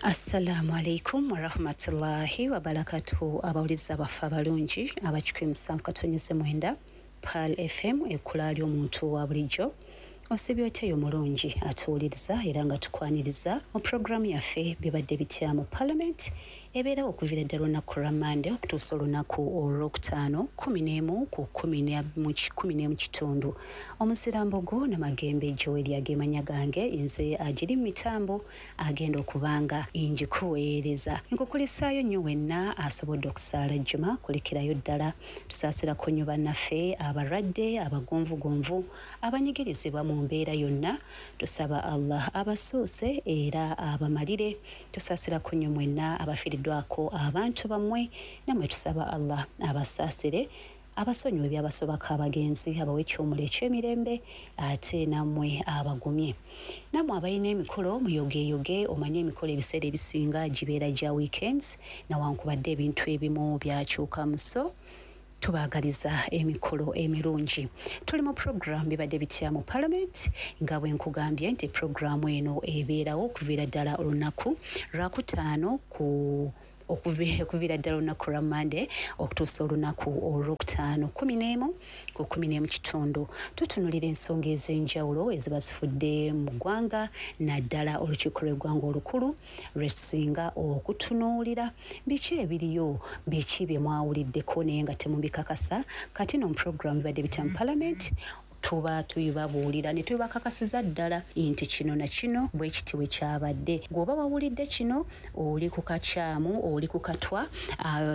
Assalamu alaikum warahmatullahi wabarakatuhu. Abawuliriza baffe abalungi abakikumi musanvu katonyeze mwenda Pearl FM, ekkula ly'omuntu wa bulijjo, osibye oteyo mulungi atuwuliriza era nga tukwaniriza mu puroguramu yaffe Bibadde Bitya mu Parliament, ebeerawo okuviira ddala olunaku lwa Mande okutuusa olunaku olwokutaano 11 ku 11 kitundu. Omuzirambogo Namagembe Joel agemanya gange, nze agiri mu mitambo agenda okubanga njikuweereza. Nkukulisaayo nnyo wenna asobodde okusaala Juma, kulikirayo ddala. Tusaasirako nnyo bannaffe abalwadde, abagonvugonvu, abanyigirizibwa mu mbeera yonna. Tusaba Allah abasuuse era abamalire. Tusaasirako nnyo mwenna abafiiriddwako abantu bammwe, nammwe tusaba Allah abasaasire, abasonyiwe ebyabasobako abagenzi, abawe ekyomula ekyemirembe, ate nammwe abagumye. Nammwe abalina emikolo muyogeyoge. Omanye emikolo ebiseera ebisinga gibeera gya weekends, nawankubadde ebintu ebimu byakyukamu, so tubaagaliza emikolo emirungi. Tuli mu program Bibadde Bitya mu Parliament, nga bwe nkugambye nti puroguramu eno ebeerawo okuviira ddala olunaku lwakutaano ku okuviira ddala olunaku lwa Mande okutuusa olunaku olwokutaano 11 ku 11 kitundu. Tutunulira ensonga ez'enjawulo eziba zifudde mu ggwanga, naddala olukiiko lw'eggwanga olukulu lwetusinga okutunuulira. Biki ebiriyo? Biki bye mwawuliddeko naye nga temubikakasa? Kati no mu puroguramu Bibadde Bitya mu Parliament tuba tubibabuulira ne tubakakasiza ddala nti kino na kino bwe kiti bwe kyabadde. Gw'oba wawulidde kino, oli ku kakyamu, oli ku katwa.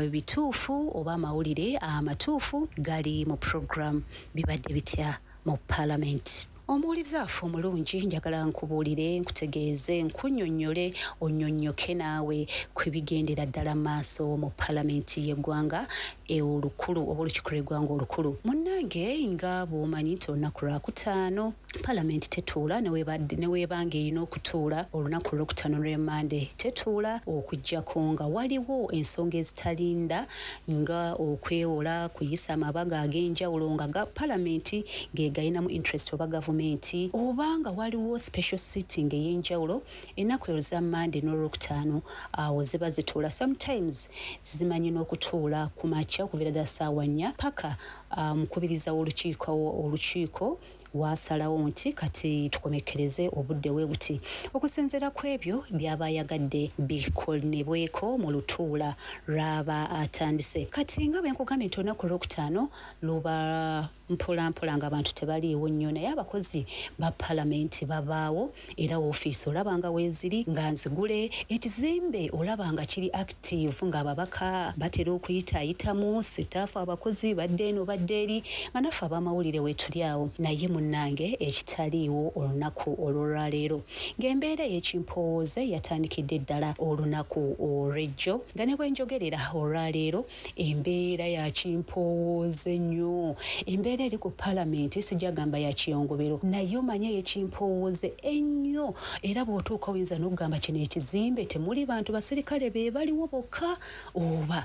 Bituufu oba amawulire amatuufu gali mu program Bibadde Bitya mu Parliament. Omuwuliza waffe omulungi, njagala nkubuulire, nkutegeeze, nkunnyonnyole, onnyonnyoke naawe ku bigendera ddala maaso mu palamenti y'eggwanga olukulu oba olukiiko lw'eggwanga olukulu. Munnange, nga bw'omanyi nti olunaku lwakutaano palamenti tetuula, neweebanga erina okutuula olunaku olwokutaano lw'emande tetuula, okuggyako nga waliwo ensonga ezitalinda nga okwewola, kuyisa amabaga ag'enjawulo nga ga palamenti ng'egayinamu interest oba gavumenti, oba nga waliwo special sitting ey'enjawulo. Ennaku ezo za Mande n'olwokutaano awo ziba zituula. Sometimes zimanyi n'okutuula ku makya okuviira ddala ssaawa 4 paka omukubiriza w'olukiiko olukiiko wasalawo nti kati tukomekkereze obudde we buti, okusinziira ku ebyo byaba ayagadde bikolebweko mu lutuula lw'aba atandise. Kati nga bwe nkugambye nti olunaku olwokutaano luba mpolampola nga abantu tebaliiwo nnyo, naye abakozi ba palamenti babaawo, era woofiisi olaba nga weeziri nga nzigule, ekizimbe olaba nga kiri active, ng'ababaka batera okuyitaayitamu, staff, abakozi badde eno badde eri, nga naffe ab'amawulire weetuli awo. Naye munnange, ekitaliiwo olunaku olw'olwaleero, ng'embeera ey'ekimpowooze yatandikidde ddala olunaku olw'ejjo, nga ne bwe njogerera olwaleero embeera ya kimpowooze nnyo. Embeera eri ku palamenti sijagamba ya kiyongobero, naye omanye ey'ekimpowooze ennyo, era bw'otuuka oyinza n'okugamba kino ekizimbe temuli bantu, basirikale be baliwo bokka, oba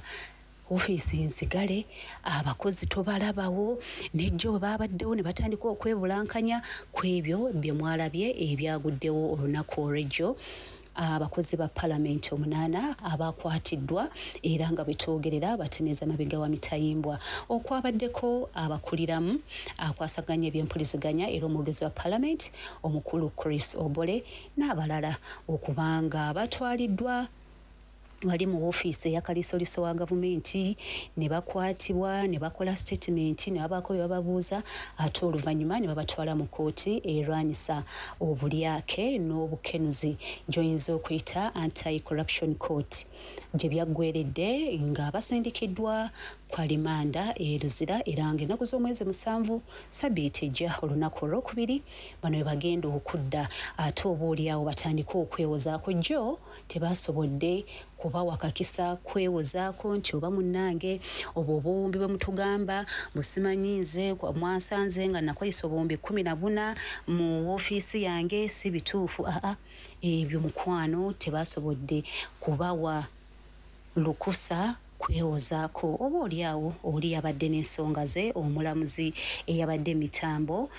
ofiisi nzigale, abakozi tobalabawo. Nejjo bwe babaddewo ne batandika okwebulankanya ku ebyo bye mwalabye ebyaguddewo olunaku olw'ejjo, abakozi ba palamenti omunaana abakwatiddwa era nga bwetwogerera batemeza mabega wa mitayimbwa, okwabaddeko abakuliramu akwasaganya ebyempuliziganya era omwogezi wa palamenti omukulu Chris Obore n'abalala, okubanga batwaliddwa wali mu woofiisi eya kaliisoliiso wa gavumenti ne bakwatibwa ne bakola statement ne babaako bye bababuuza, ate oluvannyuma ne babatwala mu kkooti erwanyisa obulyake n'obukenuzi gy'oyinza okuyita Anti Corruption Court, gye byaggweredde nga basindikiddwa kwa limanda e Luzira, era ng'ennaku z'omwezi 7 sabiiti ejja, olunaku olwokubiri, bano we bagenda okudda, ate oba oliawo batandike okwewozaako. Jjo tebasobodde kubawa kakisa kwewozaako nti oba munnange obwo obuwumbi bwe mutugamba busimanyi, nze mwasanze nga nakozesa obuwumbi 14 mu woofiisi yange, si bituufu. Aa, ebyo mukwano tebasobodde kubawa lukusa kwewozaako. Oba oliawo oli yabadde n'ensonga ze, omulamuzi eyabadde emitambo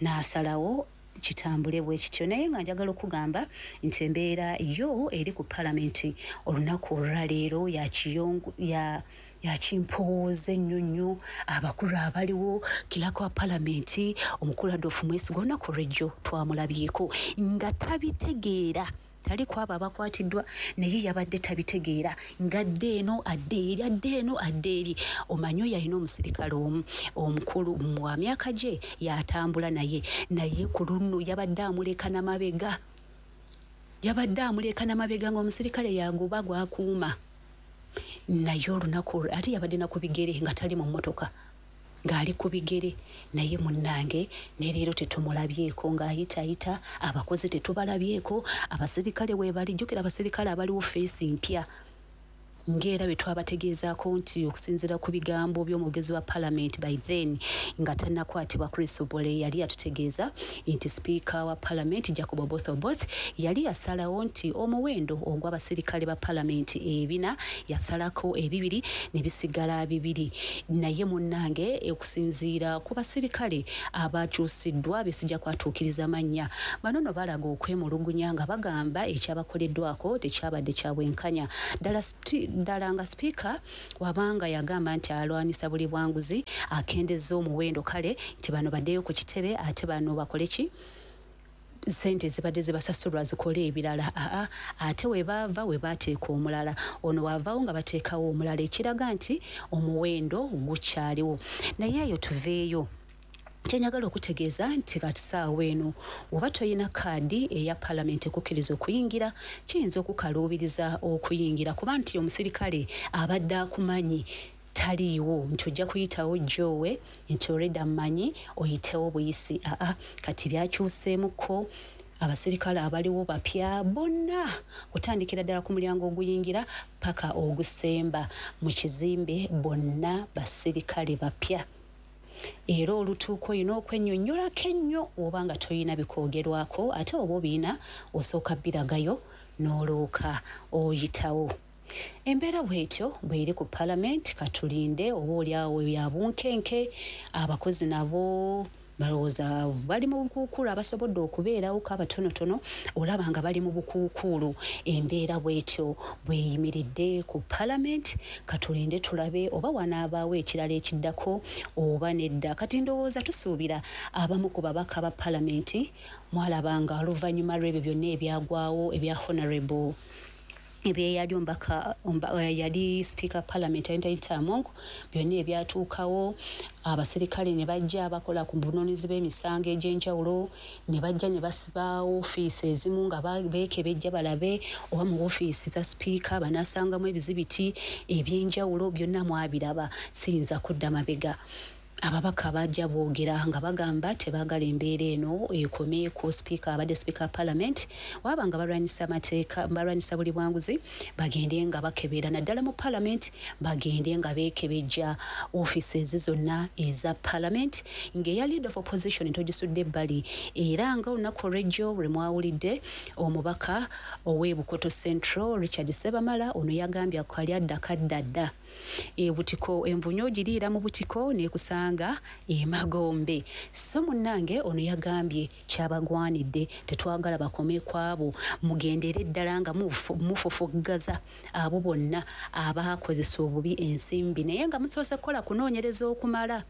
n'asalawo. Kitambule bwe kityo, naye nga njagala okugamba nti embeera yo eri ku palamenti olunaku olwaleero yakiyongu ya yakimpowooza ennyo nnyo. Abakulu abaliwo, clerk wa palamenti omukulu Adolf Mwesigwa, olunaku olwejjo twamulabyeko nga tabitegeera, tali kwabo abakwatiddwa, naye yabadde tabitegeera, ng'adde eno adde eri, adde eno adde eri. Omanyi oyo alina omusirikale omu omukulu wa myaka gye yatambula naye, naye ku luno yabadde amuleka namabega, yabadde amuleka namabega, ng'omusirikale yagoba gwakuuma. Naye olunaku ate yabadde na ku bigere, nga tali mu mmotoka, ng'ali ku bigere. Naye munnange, ne leero tetumulabyeko ng'ayitaayita, abakozi tetubalabyeko, abasirikale weebali. Jjukira abasirikale abaliwo face mpya, ng'era bwe twabategeezaako nti okusinziira ku bigambo by'omwogezi wa palamenti by then nga tannakwatibwa, Chris Obore, yali yatutegeeza nti sipiika wa palamenti Jacob Oboth Oboth yali yasalawo nti omuwendo ogw'abasirikale ba palamenti 400 yasalako 200 ne bisigala 2. Naye munnange, okusinziira ku basirikale abakyusiddwa besijja kwatuukiriza mannya, bano no balaga okwemulugunya nga bagamba ekyabakoleddwako tekyabadde kya bwenkanya ddala ddala, nga sipiika wabanga yagamba nti alwanisa buli bwanguzi, akendeza omuwendo, kale nti bano baddeyo ku kitebe, ate bano bakole ki, sente zibadde zibasasulwa zikole ebirala. Aa, ate we baava we bateeka omulala, ono waavaawo nga bateekawo omulala, ekiraga nti omuwendo gukyaliwo. Naye eyo tuveeyo. Kyenjagala okutegeeza nti kati saawa eno oba toyina kaadi eya palamenti ekukkiriza okuyingira, kiyinza okukaluubiriza okuyingira, kuba nti omusirikale abadde akumanyi taliiwo, nti ojja kuyitawo jowe nti olredda mmanyi, oyitewo buyisi. Aa, kati byakyuseemukko, abasirikale abaliwo bapya bonna, kutandikira ddala ku mulyango oguyingira paka ogusemba mu kizimbe, bonna basirikale bapya. Era olutuuka olina okwennyonnyolako ennyo oba nga toyina bikwogerwako, ate oba obiina osooka biragayo n'olooka oyitawo. Embeera bwetyo bweri ku palamenti. Katulinde, oba oliawo ya bunkenke, abakozi nabo balowooza bali mu bukuukuulu, abasobodde okubeerawo ko abatonotono olaba nga bali mu bukuukuulu. Embeera bwetyo bweyimiridde ku palamenti. Katulinde tulabe oba wanaabaawo ekirala ekiddako oba nedda. Kati ndowooza tusuubira abamu ku babaka ba palamenti mwalabanga oluvannyuma lw'ebyo byonna ebyagwawo ebya honorable ebyeyali omubaka, yali speaker parliament Anita Among, byonna ebyatuukawo, abaserikale ne bajja bakola ku bunoonizi bw'emisango egy'enjawulo, ne bajja ne basiba ofiisi ezimu nga beekebejja balabe oba mu ofiisi za sipiika banaasangamu ebizibiti ebyenjawulo. Byonna mwabiraba, siyinza kudda mabega. Ababaka bajja boogera nga bagamba tebaagala embeera eno ekome ku sipiika abadde sipiika wa parliament. Waba nga balwanyisa amateeka, balwanyisa buli bwanguzi, bagende nga bakebera naddala mu parliament, bagende nga beekebejja offices zonna eza parliament, ng'eya leader of opposition togisudde ebbali. Era nga olunaku olw'ejjo lwe mwawulidde omubaka ow'e Bukoto Central Richard Sebamala, ono yagambye akali adda kadda dda ebutiko, envunyu ogiriira mu butiko nekusanga emagombe. So munnange, ono yagambye kyabagwanidde, tetwagala bakome ku abo, mugendere ddala nga mufufuggaza abo bonna abakozesa obubi ensimbi, naye nga musoose kukola kunoonyereza okumala.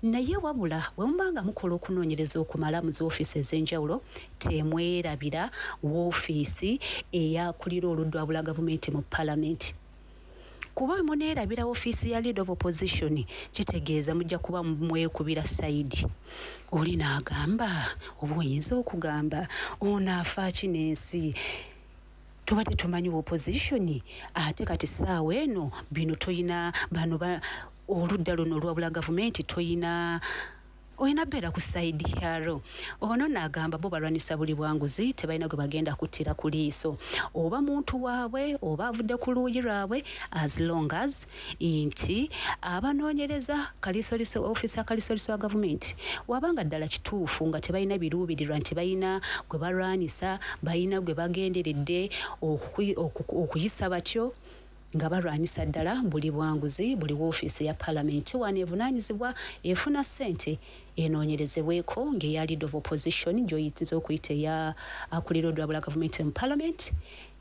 Naye wabula bwe muba nga mukola okunoonyereza okumala mu zi ofiisi ez'enjawulo, temwerabira woofiisi eyakulira oludda wabula gavumenti mu palamenti, kuba muneerabira ofiisi ya leader of opposition, kitegeeza mujja kuba mwekubira side. Oli n'agamba oba oyinza okugamba ono afa ki n'ensi, tubadde tumanyi opposition, ate kati saawa eno bino toyina bano oludda luno olwabula gavumenti toyina, olina beera ku side yalo. Ono n'agamba bo balwanisa buli bwanguzi, tebalina gwe bagenda kuttira ku liiso, oba muntu waabwe oba avudde ku luuyi lwabwe, as long as nti abanoonyereza kalisoliso, ofiisi ya kalisoliso wa gavumenti, wabanga ddala kituufu nga tebalina biruubirirwa nti balina gwe balwanisa, balina gwe bagenderedde okuyisa batyo, nga balwanyisa ddala buli bwanguzi. Buli woofiisi ya palamenti wano evunaanyizibwa efuna ssente. enoonyerezebweko ng'eya leader of opposition gy'oyinza okuyita eya akulira olwabula gavumenti mu parliament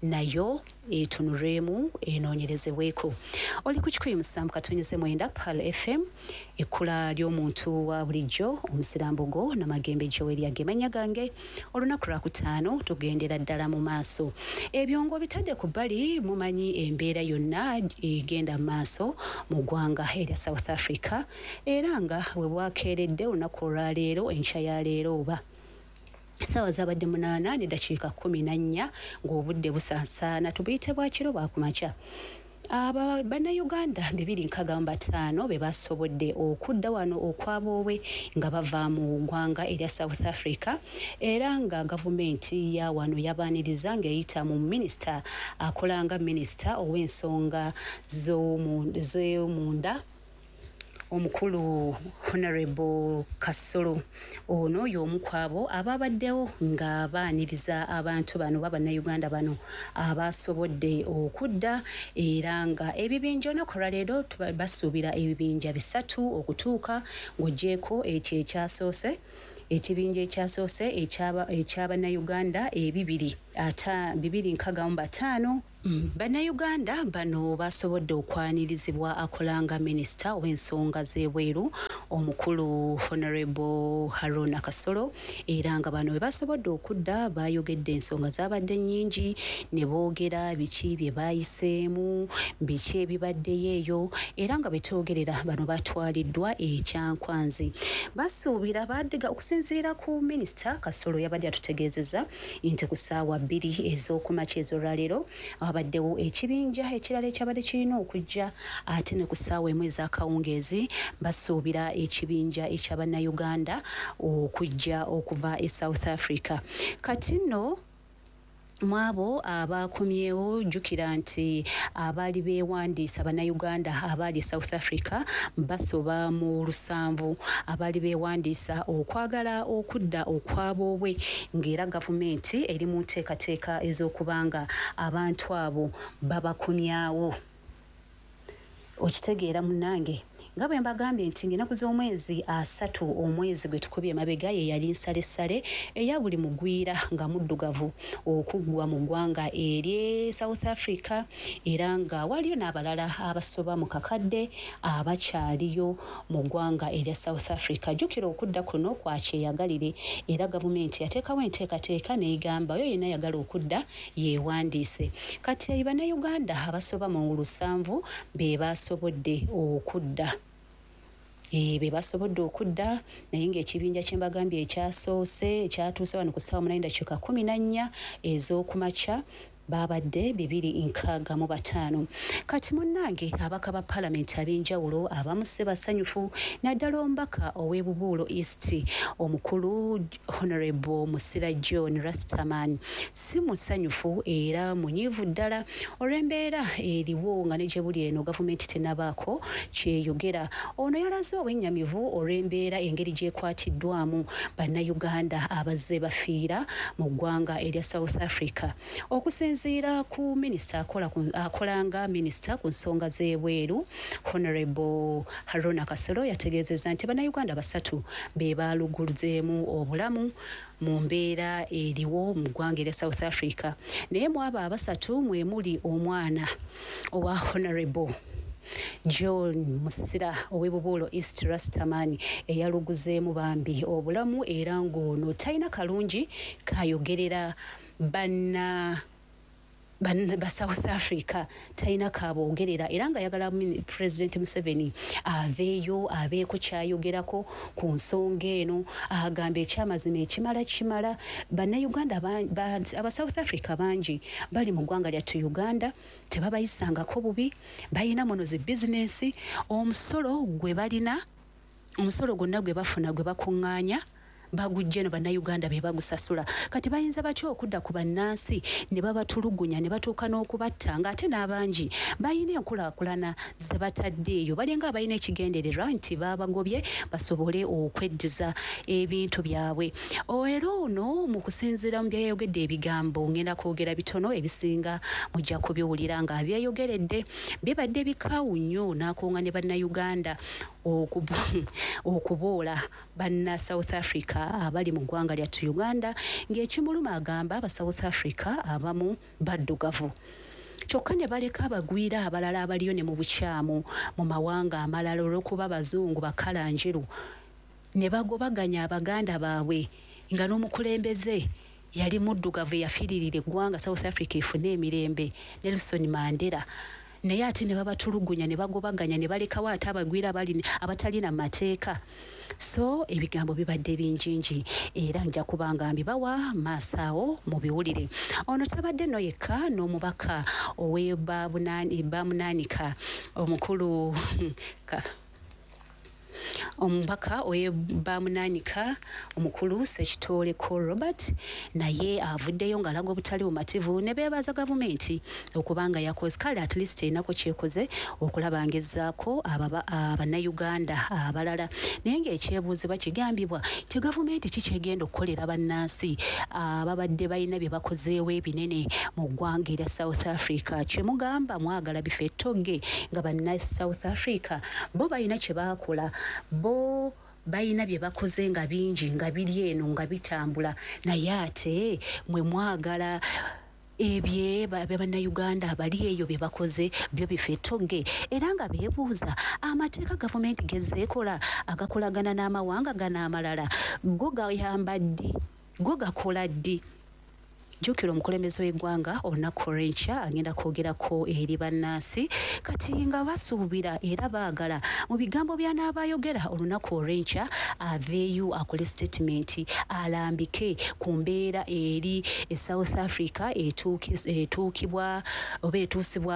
nayo etunulwemu enoonyerezebweko. Oli ku 107.9 Pearl FM, ekkula ly'omuntu wa bulijjo omusirambugo Namagembe Joel agemanya gange. Olunaku lwakutaano tugendera ddala mu maaso. Ebyongo bitadde ku bbali, mumanyi embeera yonna egenda mu maaso mu ggwanga erya South Africa, era nga we bwakeeredde olunaku olwaleero, enkya ya leero oba essaawa zabadde 8:14 ng'obudde busansaana, tubuyite bwakiro bwakumakya. Aba bannayuganda 265 be basobodde okudda wano okwaboobwe nga bava mu ggwanga erya South Africa, era nga gavumenti ya wano yabaaniriza ng'eyita mu minisita akola nga minisita ow'ensonga z'omunda omukulu Honorable Kasolo. Ono y'omu ku abo ababaddewo nga baaniriza abantu bano bannayuganda bano abasobodde okudda, era nga ebibinja olunaku olwaleero basuubira ebibinja 3 okutuuka ng'oggyeeko ekyo ekyasoose, ekibinja ekyasoose eky'abannayuganda ebibiri ata 265. Bannayuganda bano basobodde okwanirizibwa akolanga minisita ow'ensonga z'ebweru omukulu Honorable Haruna Kasolo, era nga bano bwe basobodde okudda bayogedde ensonga zabadde nnyingi ne boogera biki bye baayiseemu, biki ebibaddeyo eyo, era nga betwogerera bano batwaliddwa ekyankwanzi. Basuubira baddiga okusinziira ku minisita Kasolo yabadde atutegeezezza nti ku ssaawa 2 ez'okumakya ez'olwaleero abaddewo ekibinja ekirala ekyabadde kirina okujja, ate ne ku ssaawa 1 ez'akawungeezi basuubira ekibinja eky'abannayuganda okujja okuva e South Africa. Kati nno mwabo abakomyewo, jjukira nti abaali beewandiisa bannayuganda abaali e South Africa basoba mu 7 abaali beewandiisa okwagala okudda okwaboobwe, ng'era gavumenti eri mu nteekateeka ez'okubanga abantu abo babakomyawo. Okitegeera munnange nga bwe mbagambye nti ng'ennaku z'omwezi 3 omwezi gwe tukubye emabega ye yali nsalessale eya buli mugwira nga muddugavu okuggwa mu ggwanga erye South Africa, era nga waliyo n'abalala abasoba mu kakadde abakyaliyo mu ggwanga erya South Africa. Jjukira okudda kuno kwa kyeyagalire, era gavumenti yateekawo enteekateeka n'egamba oyo yenna ayagala okudda yeewandiise. Kati bannayuganda abasoba mu 7 be basobodde okudda. Be basobodde okudda, naye ng'ekibinja kye mbagambye ekyasoose ekyatuuse wano ku ssaawa 8:14 ez'okumakya babadde 265. Kati munnange ababaka ba palamenti ab'enjawulo abamu si basanyufu, naddala omubaka ow'e Bubuulo East omukulu Honorable Musira John Rastaman si musanyufu era munyiivu ddala olw'embeera eriwo nga ne gye buli eno gavumenti tennabaako kyeyogera. Ono yalaze obwennyamivu olw'embeera engeri gy'ekwatiddwamu bannayuganda abazze bafiira mu ggwanga erya South Africa. Okusinziira ku minisita akolanga minisita ku nsonga z'ebweru Honorable Haruna Kasolo yategeezezza nti bannayuganda 3 be baaluguluzeemu obulamu mu mbeera eriwo mu ggwanga erya South Africa, naye mu abo 3 mwe muli omwana owa Honorable John Musira ow'e Bubuulo East Rastaman eyaluguzeemu bambi obulamu, era ng'ono talina kalungi kayogerera banna ba South Africa, talina kaboogerera, era ng'ayagala President Museveni aveeyo abeeko ky'ayogerako ku nsonga eno. Agamba ekyamazima ekimala kimala, bannayuganda aba South Africa bangi bali mu ggwanga lyattu Uganda, tebabayisangako bubi, balina muno zi bizinensi, omusolo gwe balina, omusolo gwonna gwe bafuna gwe bakuŋŋaanya bagujja eno bannayuganda be bagusasula. Kati bayinza batya okudda ku bannansi ne babatulugunya ne batuuka n'okubatta, ng'ate n'abangi balina enkulaakulana ze batadde eyo, balinga abalina ekigendererwa nti baabagobye basobole okweddiza ebintu byabwe. Era ono mu kusinziira mu byayogedde ebigambo ngenda kwogera bitono, ebisinga mujja kubiwulira nga byeyogeredde bibadde bikaawu nnyo n'akunga ne bannayuganda okuboola banna South Africa abali mu ggwanga lyattu Uganda, ng'ekimuluma agamba aba South Africa abamu baddugavu, kyokka ne baleka abagwira abalala abaliyo ne mu bukyamu mu mawanga amalala olw'okuba bazungu bakalanjiru, ne bagobaganya abaganda baabwe, nga n'omukulembeze yali muddugavu eyafiiririra eggwanga South Africa efune emirembe, Nelson Mandela, naye ate ne babatulugunya ne bagobaganya ne balekawo ate abagwira abatalina mateeka. So ebigambo bibadde bingingi era nja kuba nga mbibawa maaso awo mu biwulire. Ono tabadde no yekka, n'omubaka ow'ebamunaanika omukulu, omubaka owebamunaanika omukulu Ssekitooleko Robert, naye avuddeyo ng'alaga obutali bumativu ne beebaza gavumenti okubanga yakoze, kale at least erinako kyekoze okulaba ng'ezzaako Abannayuganda abalala. Naye ng'ekyebuuzibwa kigambibwa nti gavumenti ki kyegenda okukolera bannansi ababadde balina bye bakozeewo ebinene mu ggwanga erya South Africa? Kyemugamba mwagala bifo ettogge nga banna South Africa bo balina kye baakola, bo balina bye bakoze nga bingi nga biri eno nga bitambula, naye ate mwe mwagala ebye bannayuganda abali eyo bye bakoze byo bifo ettogge. Era nga beebuuza amateeka gavumenti gezeekola agakolagana n'amawanga gano amalala go gayamba ddi, go gakola ddi? Jjukira omukulembeze w'eggwanga olunaku olw'enkya agenda kwogerako eri bannansi, kati nga basuubira era baagala mu bigambo by'anaabayogera olunaku olw'enkya aveeyo akole statement alambike ku mbeera eri e South Africa etuukibwa oba etuusibwa.